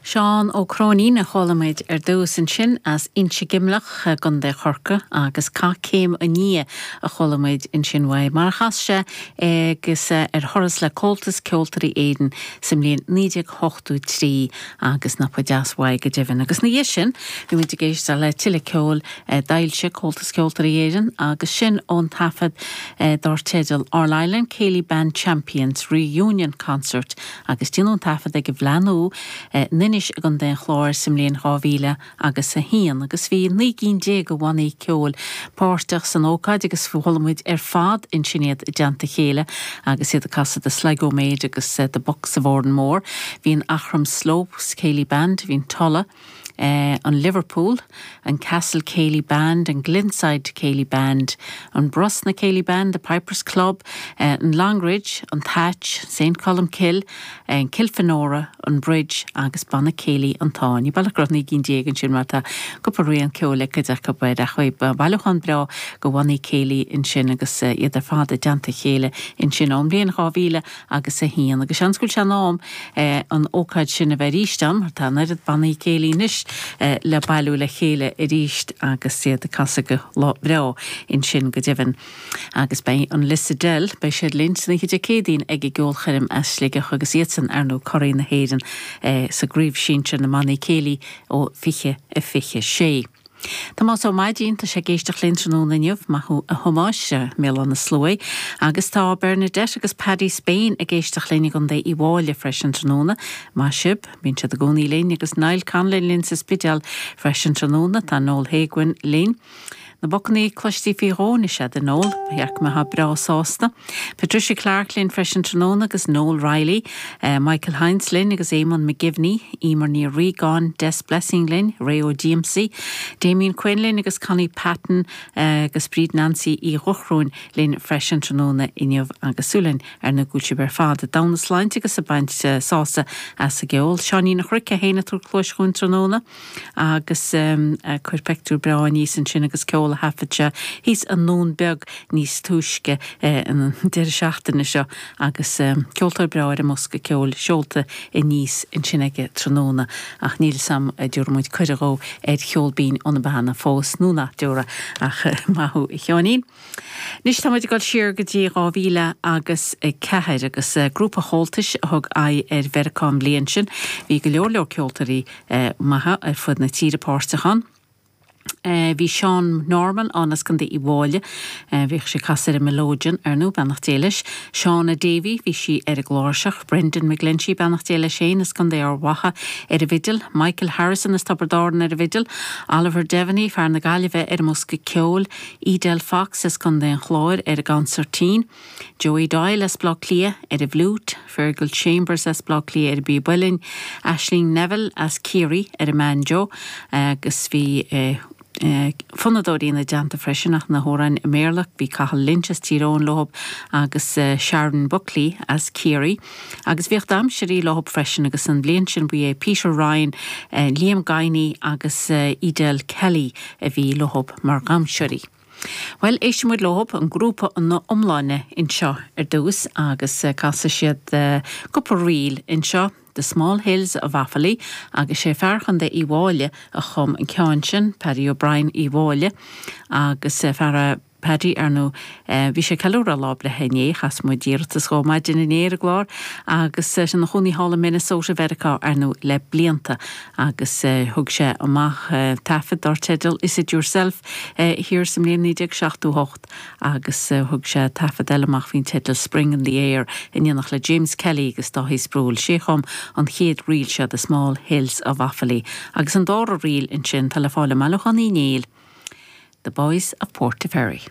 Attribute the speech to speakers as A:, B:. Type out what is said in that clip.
A: Seán Ó Cróinín a chuala muid ar dtús ansin as Inse Geimhleach i gContae Chorcaí agus Caith Céim Aniar a chuala muid ansin uaidh mar a chas sé agus é ar thuras le Comhaltas Ceoltóirí Éireann sa mbliain 1983 agus cnaipe deas uaidh go deimhin. Agus ina dhiaidh sin bhí muid ag éisteacht le tuilleadh ceoil a d'fhoilsigh Comhaltas Ceoltóirí Éireann agus sin ón taifead dár teideal All Ireland Céilí Band Champions Reunion Concert agus déanadh an taifead ag an bhFleadh Nua in Inis i gContae an Chláir sa mbliain 2000 agus 1 agus bhí 19 gcinn de bhannaí ceoil páirteach san ócáid agus chuala muid ar fad ansin iad i dteannta a chéile agus iad ag casadh The Sligo Maid agus The Bucks of Oranmore. Bhí an Aughrim Slopes Céilí Band, bhí an Tulla, an Liverpool, an Castle Céilí Band, an Glenside Céilí Band, an Brosna Céilí Band, The Pipers Club, an Longridge, an Thatch, St Colmcille, an Kilfenora, an Bridge agus Banna Céilí an tSáinn. Ní baileach go raibh 19 gcinn ansin mar tá cúpla rian ceoil ag cuid acu ar ach bailiúchán breá de bhannaí céilí ansin agus iad ar fad i dteannta a chéile ansin ón mbliain 2000 agus 1. Agus seans go bhfuil sé in am an ócáid sin a bheith arís ann mar tá an oiread bannaí céilí anois le bailiú le chéile arís agus iad ag casadh go breá ansin go deimhin. Agus beidh an Lissadell, beidh siad linn san oíche Dé Céadaoin ag an gceolchoirm as Sligeach agus iadsan ar ndóigh curaidh na hÉireann sa gcraobh sinsir na mbannaí céilí ó 2026. Tomás Ó Maidín, tá sé ag éisteacht linn tráthnóna inniu, maith thú a Thomáis, i mBéal Átha na Sluaighe. Agus tá Bernadette agus Paddy Spain ag éisteacht linn i gContae Uíbh Fhailí freisin tráthnóna. Maith sibh, bíonn siad i gcónaí linn agus Niall Conlon linn sa Spidéal freisin tráthnóna. Tá Noel Haguin linn. Na bacannaí cloistí faoi dhó anois a'd a Noel, ba cheart go mbeifeá breá sásta. Patricia Clarke linn freisin tráthnóna agus Noel Reilly, Michael Hynes linn agus Eamon McGivney, Emer Ní Riagáin, Des Blessing linn, Ray Ó Díomsaigh, Damien Quinn linn agus Connie Patton agus Bríd Nancy Uí Dhochróin linn freisin tráthnóna inniu agus súil againn ar ndóigh go bhfuil sibh ar fad i dtogha na sláinte agus ag baint sásamh as an gceol. Seáinín an Chnoic é féin ag tabhairt cluais chugainn tráthnóna. Agus chuir peictiúr breá aníos ansin agus ceol a thaifead sé thíos i nDún Beag níos túisce an deireadh seachtaine seo agus ceoltóir breá ar an mbosca ceoil seolta aníos ansin aige tráthnóna ach níl 'fhios a'm an dtabharfaidh muid cuireadh dhó ar cheol binn ó na Beanna fós nó nach dtabharfaidh ach maith thú a Sheáinín. Anois tá muid ag dul siar go dtí 2000 agus 4 agus grúpa Chomhaltais a thug aghaidh ar Mheiriceá an bhliain sin. Bhí go leor leor ceoltóirí maithe ar fud na tíre páirteach ann. Bhí Seán Norman ann as Contae Uíbh Fhailí, bhíodh sé ag casadh ar an melodeon ar ndóigh, beannacht Dé leis. Shauna Davey, bhí sí ar an gcláirseach. Brendan McGlinchey, beannacht Dé leis féin, as Contae Ard Mhacha ar an bhfidil. Michael Harrison as Tiobraid Árann ar an bhfidil. Oliver Devaney, fear na Gaillimhe ar an mbosca ceoil. Edel Fox as Contae an Chláir ar an gconsairtín, Joey Doyle as Baile Átha Cliath ar an bhfliúit, Fergal Chambers as Baile Átha Cliath ar an bpíob uilleann, Aisling Neville as Ciarraí ar an mbanjo agus bhí fonnadóirí ina dteannta freisin ach na hamhráin i mBéarla, bhí Cathal Lynch as Tír Eoghain leothab agus Sharon Buckley as Ciarraí. Agus bhíodh damhsóirí leothab freisin agus an bhliain sin ba é Peter Ryan, Liam Guiney agus Edel Kelly a bhí leothab mar dhamhsóirí. Bhuel, éistfidh muid leothab, an grúpa ina iomláine anseo ar dtús agus casfaidh siad cúpla ríl anseo, The Small Hills of Offaly agus sé fear Chontae Uíbh Fhailí a chum an ceann sin, Paddy O'Brien Uíbh Fhailí agus fear a Paddy, ar ndóigh, bhí sé ag ceiliúradh a lá breithe inné, chas muid iarratas dhó maidin inné ar an gclár agus é ina chónaí thall i Minnesota Mheiriceá, ar ndóigh, le blianta agus thug sé amach taifead dár teideal Is It Yourself thiar sa mbliain 1978 agus thug sé taifead eile amach faoin teideal Spring in the Air in éineacht le James Kelly agus Dáithí Sproule. Sé a chum an chéad ríl seo The Small Hills of Offaly agus an dara ríl ansin tá le fáil i mBailiúchán Uí Néill, The Boys of Portaferry.